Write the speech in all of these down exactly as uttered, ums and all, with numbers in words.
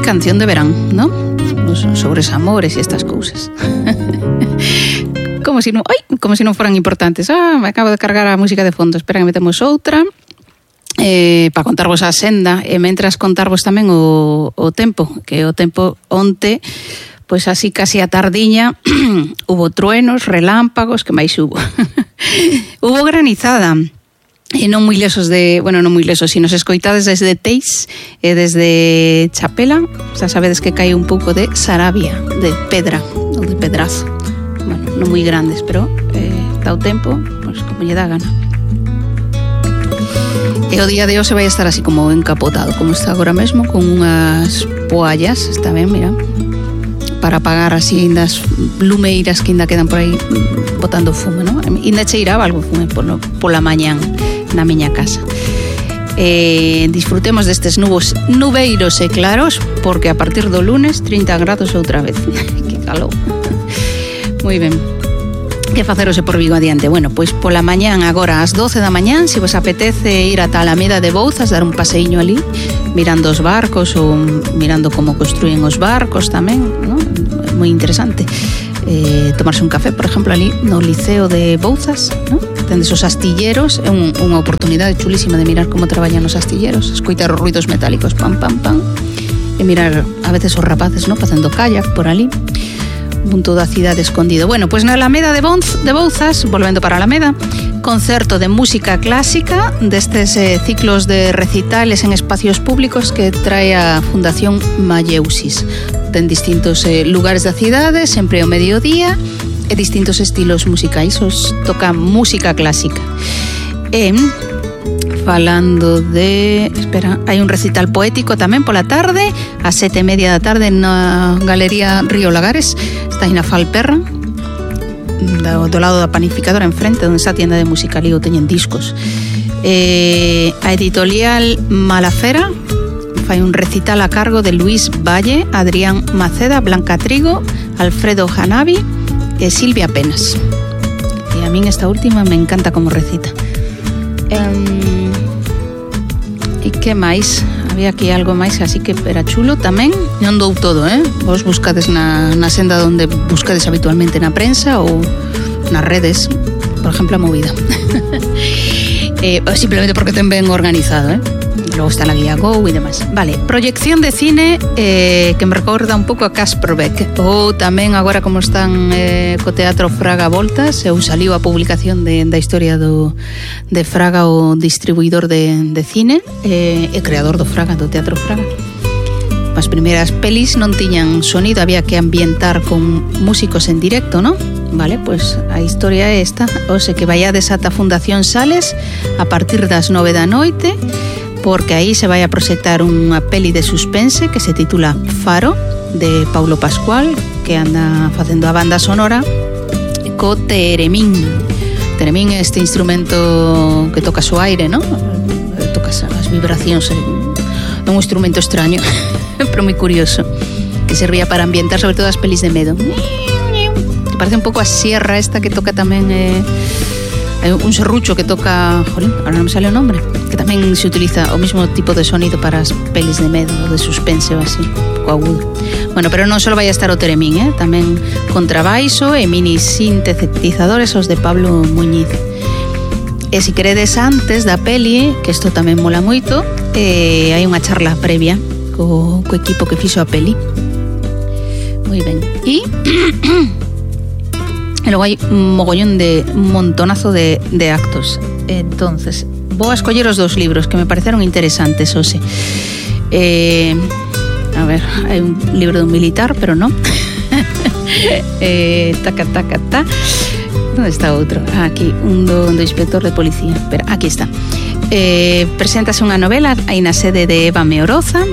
canción de verán, ¿no? Pues sobre os amores y estas cousas. Como si non, ai, como si non foran importantes. Ah, me acabo de cargar a música de fondo. Espera que metemos outra. Eh, para contarvos a senda e mentras contarvos tamén o, o tempo, que o tempo onte, pois así casi a tardiña hubo truenos, relámpagos, que máis hubo. Hubo granizada. E non moi lesos de, bueno, non moi lesos, sino se escoitades desde Teis e desde Chapela, xa sabedes que cae un pouco de sarabia, de pedra, ou de pedrazo. Bueno, non moi grandes, pero eh, dá o tempo, pois como lle dá gana. E o día de hoxe vai estar así como encapotado, como está agora mesmo, con unhas poallas, está ben, mira, para apagar así das lumeiras que ainda quedan por aí botando fume, non? Ainda cheiraba algo fume polo, pola mañán na miña casa. Eh, disfrutemos destes nubos nubeiros e claros, porque a partir do lunes trinta grados outra vez. Que calor. Moi ben. Que facerose por Vigo adiante? Bueno, pois pola mañán agora ás doce da mañán, se vos apetece ir ata a Alameda de Bouzas, dar un paseiño ali, mirando os barcos ou mirando como construyen os barcos tamén, ¿no? Moi interesante. Eh, tomarse un café, por exemplo, ali no Liceo de Bouzas, ¿no? Tendes os astilleros, é un, unha oportunidade chulísima de mirar como traballan os astilleros, escoitar os ruidos metálicos, pam, pam, pam, e mirar a veces os rapaces, ¿no? Facendo kayak por ali. Punto da cidade escondido. Bueno, pois pues na Alameda de, Bonz, de Bouzas, volvendo para Alameda, concerto de música clásica destes eh, ciclos de recitales en espacios públicos que trae a Fundación Malleusis. Ten distintos eh, lugares da cidade, sempre ao mediodía, e distintos estilos musicais. Os toca música clásica. E falando de... Espera, hai un recital poético tamén pola tarde, a sete e media da tarde na Galería Río Lagares, está aí na Falperra, do, do lado da panificadora enfrente, onde está a tienda de música, ali o teñen discos. Eh, a editorial Malafera fai un recital a cargo de Luis Valle, Adrián Maceda, Blanca Trigo, Alfredo Janavi e Silvia Penas. E a min esta última me encanta como recita. Um, e que máis? Había aquí algo máis así que era chulo tamén. Non dou todo, eh? Vos buscades na, na senda onde buscades habitualmente na prensa ou nas redes, por exemplo a Movida. eh, simplemente porque ten ben organizado, eh? Logo está la guía Go e demais. Vale, proyección de cine eh, que me recorda un pouco a Kasperbeck. Ou tamén agora como están eh, co Teatro Fraga voltas, eu saliu a publicación de, da historia do, de Fraga, o distribuidor de, de cine eh, e creador do Fraga, do Teatro Fraga. As primeiras pelis non tiñan sonido, había que ambientar con músicos en directo, ¿no? Vale, pois a historia é esta. O se que vaiades ata Fundación Sales a partir das nove da noite, porque aí se vai a proxectar unha peli de suspense que se titula Faro, de Paulo Pascual, que anda facendo a banda sonora co teremín. Teremín é este instrumento que toca o aire, ¿no? Toca as vibracións, é un instrumento extraño, pero moi curioso, que servía para ambientar sobre todo as pelis de medo. Que parece un pouco a sierra esta que toca tamén... Eh, Hai un serrucho que toca, jolín, ahora non me sale o nombre, que tamén se utiliza o mesmo tipo de sonido para as pelis de medo, de suspense ou así, un pouco agudo. Bueno, pero non só vai a estar o teremín, eh? Tamén contrabaixo e mini sintetizadores os de Pablo Muñiz. E se queredes antes da peli, que isto tamén mola moito, eh, hai unha charla previa co, co equipo que fixo a peli. Moi ben. E... E logo hai un mogollón de un montonazo de, de actos. Entonces, vou a escoller os dos libros que me pareceron interesantes, Ose. Eh, a ver, hai un libro de un militar, pero non. eh, taca, taca, ta. Onde está outro? Ah, aquí, un do, do inspector de policía. Espera, aquí está. Eh, preséntase unha novela aí na sede de Eva Meoroza,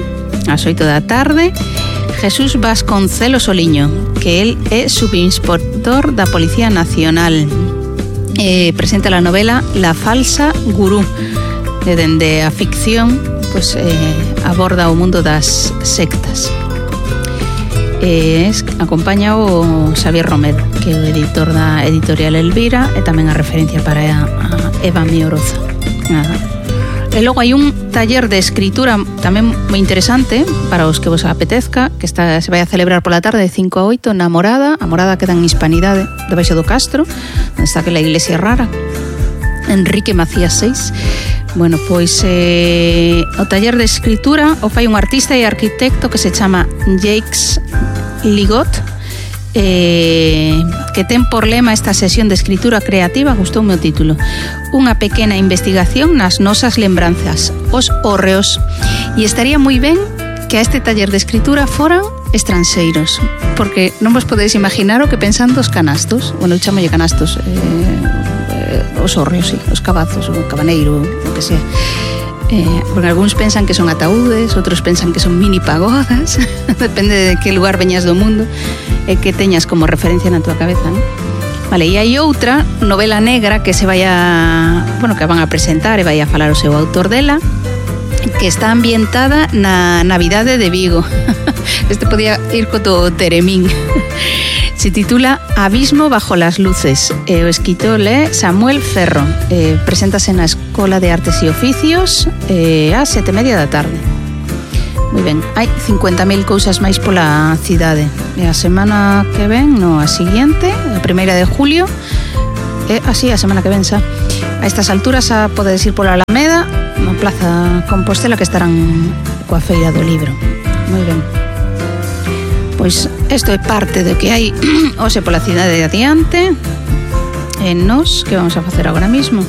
ás oito da tarde. Jesús Vasconcelos Oliño, que él é subinspector da Policía Nacional. Eh, presenta a novela La falsa gurú, e dende a ficción pues, eh, aborda o mundo das sectas. Eh, es, acompaña o Xavier Romero, que é o editor da editorial Elvira, e tamén a referencia para a, a Eva Meoroza. A E logo hai un taller de escritura tamén moi interesante para os que vos apetezca, que está, se vai a celebrar pola tarde de cinco a oito na Morada. A Morada queda en Hispanidade, debaixo do Castro, onde está aquela iglesia rara, Enrique Macías seis. Bueno, pois eh, o taller de escritura o fai un artista e arquitecto que se chama Jacques Ligot, eh, que ten por lema esta sesión de escritura creativa, gustoume o título, unha pequena investigación nas nosas lembranzas, os hórreos. E estaría moi ben que a este taller de escritura foran estranxeiros, porque non vos podedes imaginar o que pensan dos canastos. Bueno, eu chamolle canastos, eh, eh, os hórreos, sí, os cabazos, o cabaneiro, o que sea. Eh, porque algúns pensan que son ataúdes, outros pensan que son mini pagodas, depende de que lugar veñas do mundo e que teñas como referencia na tua cabeza, non? Vale, e hai outra novela negra que se vai a, bueno, que van a presentar e vai a falar o seu autor dela, que está ambientada na Navidade de Vigo. Este podía ir co todo Teremín. Se titula Abismo bajo las luces. E o escritor é Samuel Ferro. Eh, preséntase na Escola de Artes e Oficios eh, a sete e media da tarde. Moi ben, hai cincuenta mil cousas máis pola cidade. E a semana que ven, no, a seguinte, a primeira de julio, e así a semana que ven xa. A estas alturas a podedes ir pola Alameda, na Plaza Compostela, que estarán coa Feira do Libro. Moi ben. Pois isto é parte do que hai hoxe pola cidade de adiante. E nos, que vamos a facer agora mismo?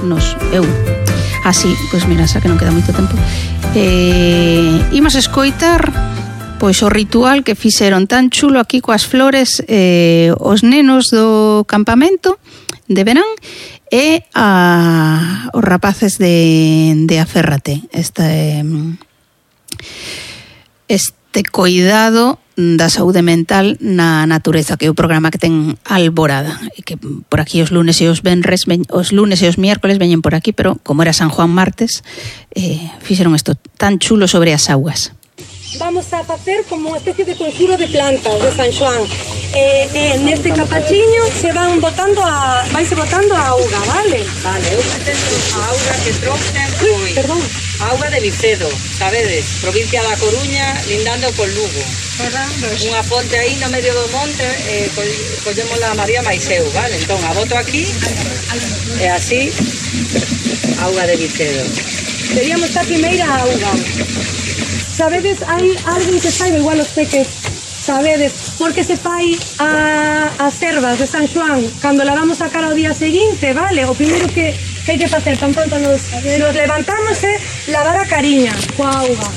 Nos, eu. Así, pois mira, xa que non queda moito tempo. Eh, imos escoitar pois o ritual que fixeron tan chulo aquí coas flores eh, os nenos do campamento de verán e a, os rapaces de, de Aférrate. Este, este cuidado da saúde mental na natureza, que é o programa que ten Alborada, e que por aquí os lunes e os venres, os lunes e os miércoles veñen por aquí, pero como era San Juan martes, eh, fixeron isto tan chulo sobre as augas. Vamos a facer como unha especie de conxuro de plantas de San Xoán. Eh, eh, neste capachiño se van botando a, vaise botando a auga, vale? Vale, eu pretendo a auga que trouxen foi Perdón. a auga de Vicedo, sabedes, provincia da Coruña, lindando con Lugo. Unha fonte aí no medio do monte, eh, collemos a María Maiseu, vale? Entón, a boto aquí, e así, auga de Vicedo. Teríamos a primeira auga. Sabedes, hai alguén que saiba, igual os peques, sabedes, por que se fai a, as ervas de San Xoán cando lavamos a cara o día seguinte, vale? O primeiro que, que hai que facer tan pronto nos, nos levantamos é lavar a cariña coa auga.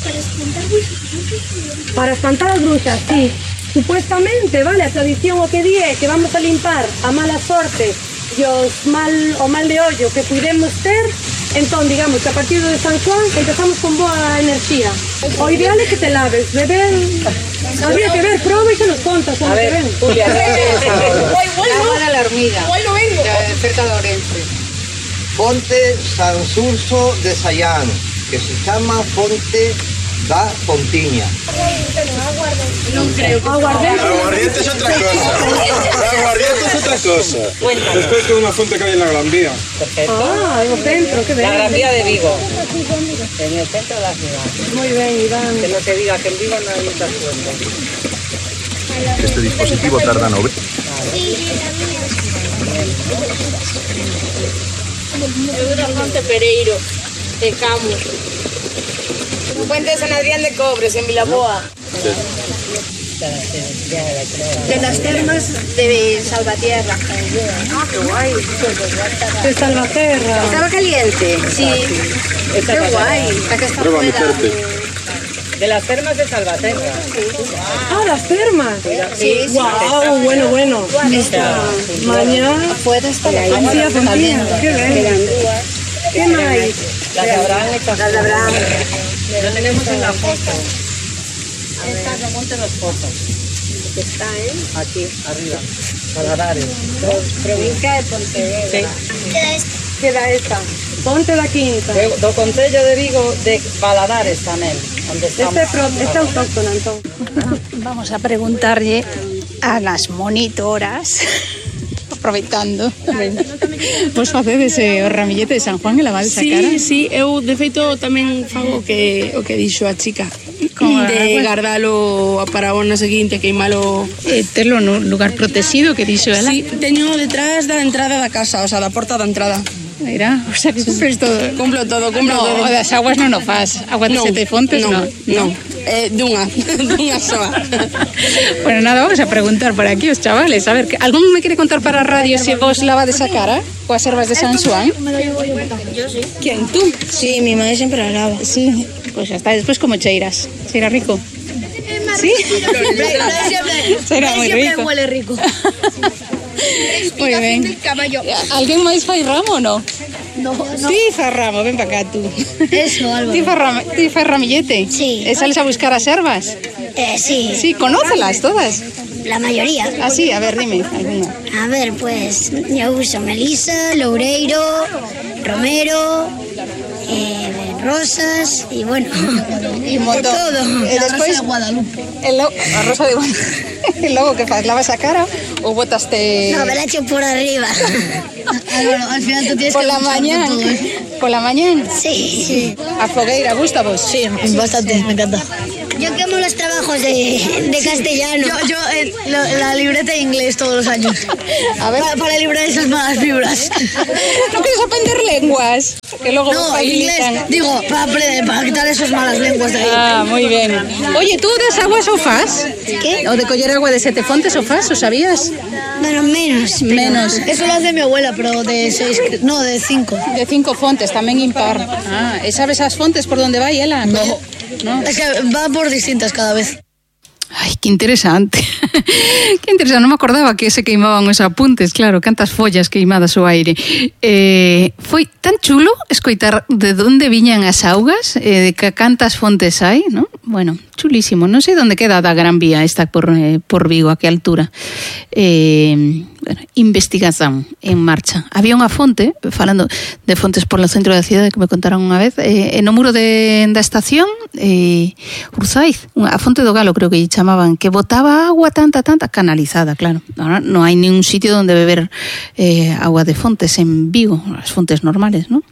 Para espantar bruxas. Para espantar as bruxas, sí. Supuestamente, vale, a tradición o que di é que vamos a limpar a mala sorte e os mal, o mal de ollo que pudemos ter. Entón, digamos que a partir de San Juan empezamos con boa enerxía. O ideal é que te laves, beben. Habría que ver, proba e que nos contas como te ven. Julia, Agua de la hormiga, Igual no vengo. de cerca de Orense. Fonte San Surso de Sayán, que se chama Fonte da Pontiña. Non creo que Aguardente. Aguardiente es otra cosa. Aguardiente es otra cosa. Esto es una fuente que hay en la Gran Vía. Perfecto. Ah, no centro, que ben. La Gran Vía de Vigo, en el centro de la ciudad. Moi ben, Iván. Que no se diga que en Vigo no hay muchas fuentes. Este dispositivo tarda nove. Eu da Fonte Pereiro, de Camus. Fuente de San Adrián de Cobres, en Vilaboa. De las termas de Salvatierra. Ah, qué guay. De Salvaterra. Estaba caliente, sí. Qué guay. Está que está Prueba fuera. meterte. De las termas de Salvaterra. Ah, las termas. Sí, sí. Wow, bueno, bueno. Mañana. Afuera está la Sí, a Fontía. Qué ben. ¿Qué máis? Las de Abraham, estas Las de Abraham. Lo tenemos en la foto. Estas no monten los fotos. Está, ¿eh? Aquí, arriba. Paladares. Provincia de Pontevedra. Sí. Queda esta. Ponte da Quinta. Do, do Concello de Vigo de Paladares tamén, onde estamos. Este, pro, este autóctono, entón. Vamos a preguntarlle a las monitoras aproveitando. Vos facedes eh, o ramillete de San Juan e lavades a Sí, cara? sí, eu de feito tamén fago o que, o que dixo a chica. Como de agua. guardalo para o ano seguinte, queimalo. Eh, terlo nun lugar protegido que dixo ela. Sí, teño detrás da entrada da casa, o sea, da porta da entrada. Mira, o sea que cumples todo. Cumplo todo, cumplo No, todo. o das aguas non o fas. Agua de No, sete fontes, no, no. no. Eh, dunha, dunha soa. Bueno, nada, vamos a preguntar por aquí os chavales. A ver, ¿que- ¿algún me quiere contar para a radio si vos lavades a cara coas ervas de San Xuan? Yo sí. ¿Quién, tú? Sí, mi madre siempre la lava. Sí, pues ya está. Después como cheiras. Cheira rico. ¿Sí? Cheira moi rico. huele rico. Moi ben. Alguén máis fai ramo ou non? No, Ti fai ramo, ven para cá tú. Eso, Álvaro. Ti fai, ram- ti fai ramillete? Sí. E sales a buscar as ervas? Eh, sí, Sí, conócelas todas. la mayoría. Ah, sí, a ver, dime alguna. A ver, pues yo uso melisa, loureiro, romero, eh, rosas y bueno, Y un montón. todo. E despois Guadalupe. el lo, a rosa de e logo que faz, lavas a cara ou botaste No, me la echo por arriba. Álvaro, al final tú tienes por la mañán? Por la mañán? Sí, sí. A fogueira, gusta vos? Sí, bastante, me encanta. Yo quemo los trabajos de, de castellano. Yo, yo eh, la, la libreta de inglés todos los años. A ver, Para, para librar esas malas fibras. ¿no quieres aprender lenguas? Que luego No, facilitan. inglés, digo, para, aprender- para quitar esas malas lenguas de ahí. Ah, moi ben. Oye, tú das aguas o fas? ¿Qué? O de coller agua de sete fontes o fas, o sabías? Bueno, menos. pero- Menos. Eso lo hace mi abuela, pero de seis, no, de cinco. De cinco fontes, tamén impar. Ah, e sabes as fontes por donde vai ela? No. No. Es que va por distintas cada vez. Ai, que interesante. Que interesante, non me acordaba que se queimaban os apuntes, claro, cantas follas queimadas ao aire. Eh, foi tan chulo escoitar de onde viñan as augas, eh, de que cantas fontes hai, non? Bueno, chulísimo. Non sei onde queda da Gran Vía esta por, eh, por Vigo, a que altura. Eh, bueno, investigación en marcha. Había unha fonte, falando de fontes por o centro da cidade que me contaron unha vez, eh, no muro de, da estación, eh, Urzaiz, unha, a fonte do Galo creo que lle chamaban, que botaba agua tanta, tanta, canalizada, claro. Ahora non hai ningún sitio onde beber eh, agua de fontes en Vigo, as fontes normales, non?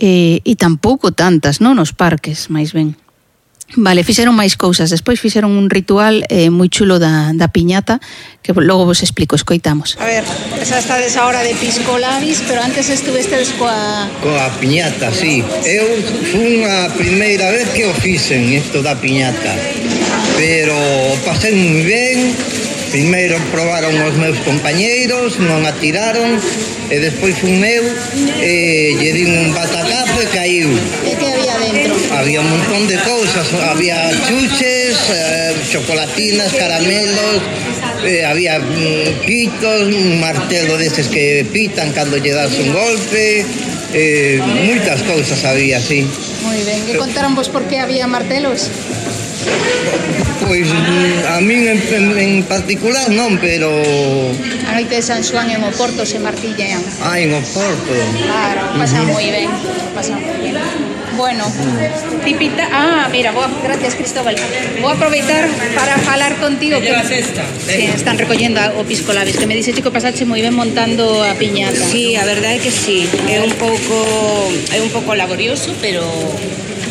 Eh, e tampouco tantas, non? Nos parques, máis ben. Vale, fixeron máis cousas. Despois fixeron un ritual eh, moi chulo da, da piñata, que logo vos explico, escoitamos. A ver, esa estades ahora de pisco labis, pero antes estuvestedes coa... Coa piñata, sí. Eu fui a primeira vez que o fixen isto da piñata, pero pasei moi ben. Primeiro probaron os meus compañeiros, non a tiraron, e despois fun eu, e lle din un batacazo e caiu. E que había dentro? Había un montón de cousas, había chuches, eh, chocolatinas, caramelos, eh, había mm, pitos, un martelo deses que pitan cando lle das un golpe, eh, moitas cousas había, sí. Moi ben, que contaron vos por que había martelos? Pois mm, a min en, en, en particular non, pero... A noite de San Xoán en Oporto se martillean. Ah, en Oporto. Claro, pasan moi ben, pasan moi ben. Bueno, tipita... Ah, mira, boa, gracias Cristóbal. Vou aproveitar para falar contigo que, que están recollendo o pisco labis, que me dice chico pasache moi ben montando a piñata. Sí, a verdade é que sí. É un pouco é un pouco laborioso, pero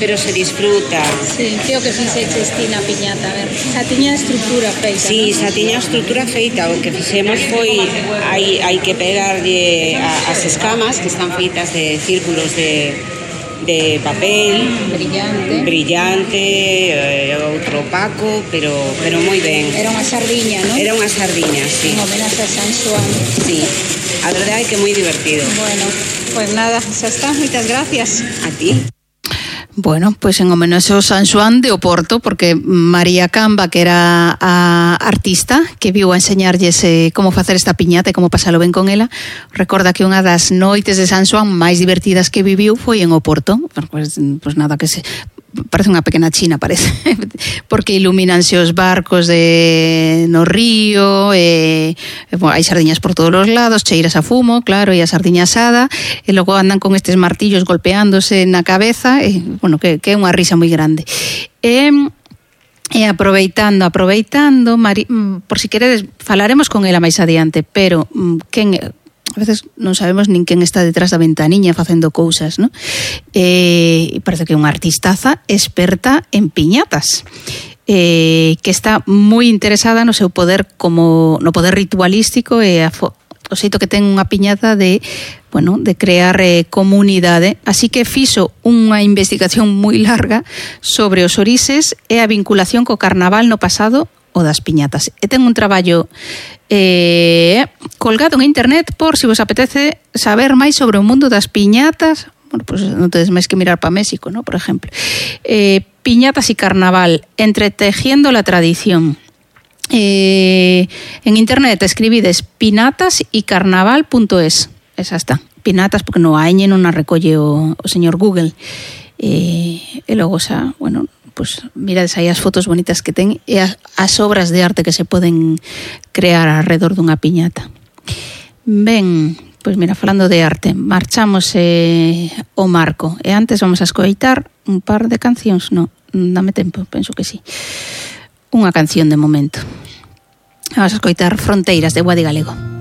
pero se disfruta. Sí, creo que fixeches ti na piñata, a ver. Xa tiña estructura feita, Sí, ¿no? xa tiña a estrutura feita. O que fixemos foi hai, hai que pegarlle a, as escamas que están feitas de círculos de de papel brillante, brillante, eh, outro opaco, pero pero moi ben. Era unha sardiña, ¿no? Era unha sardiña, sí. En homenaxe a San Xoán. Sí. A verdade é que moi divertido. Bueno, pues nada, xa está. Moitas gracias. A ti. Bueno, pues en homenaxe ao San Xoán de Oporto, porque María Camba, que era a artista que viu a enseñarlles eh, como facer esta piñata e como pasalo ben con ela, recorda que unha das noites de San Xoán máis divertidas que viviu foi en Oporto. Pues, pues nada, que se... parece unha pequena China, parece, porque ilumínanse os barcos de no río, e, e bueno, hai sardiñas por todos os lados, cheiras a fumo, claro, e a sardiña asada, e logo andan con estes martillos golpeándose na cabeza, e, bueno, que, que é unha risa moi grande. E E aproveitando, aproveitando, Mari, por si queredes, falaremos con ela máis adiante, pero quen, a veces non sabemos nin quen está detrás da ventaniña facendo cousas, non? E parece que é unha artistaza experta en piñatas, eh, que está moi interesada no seu poder como no poder ritualístico e a fo- o xeito que ten unha piñata de, bueno, de crear eh, comunidade, así que fixo unha investigación moi larga sobre os orixes e a vinculación co carnaval no pasado o das piñatas. E ten un traballo eh, colgado en internet por si vos apetece saber máis sobre o mundo das piñatas. Bueno, pues non tedes máis que mirar para México, ¿no? Por ejemplo. Eh, piñatas y carnaval, entretejiendo la tradición. Eh, en internet escribides pinatas y carnaval punto es. Esa está. Pinatas, porque no hai non a recolle o, o señor Google. Eh, e logo xa, bueno, pues mirades aí as fotos bonitas que ten e as, as obras de arte que se poden crear alrededor dunha piñata. Ben, pois mira, falando de arte, marchamos eh, o marco. E antes vamos a escoitar un par de cancións. No, dame tempo, penso que sí. Unha canción de momento. Vamos a escoitar Fronteiras de Guadi Galego.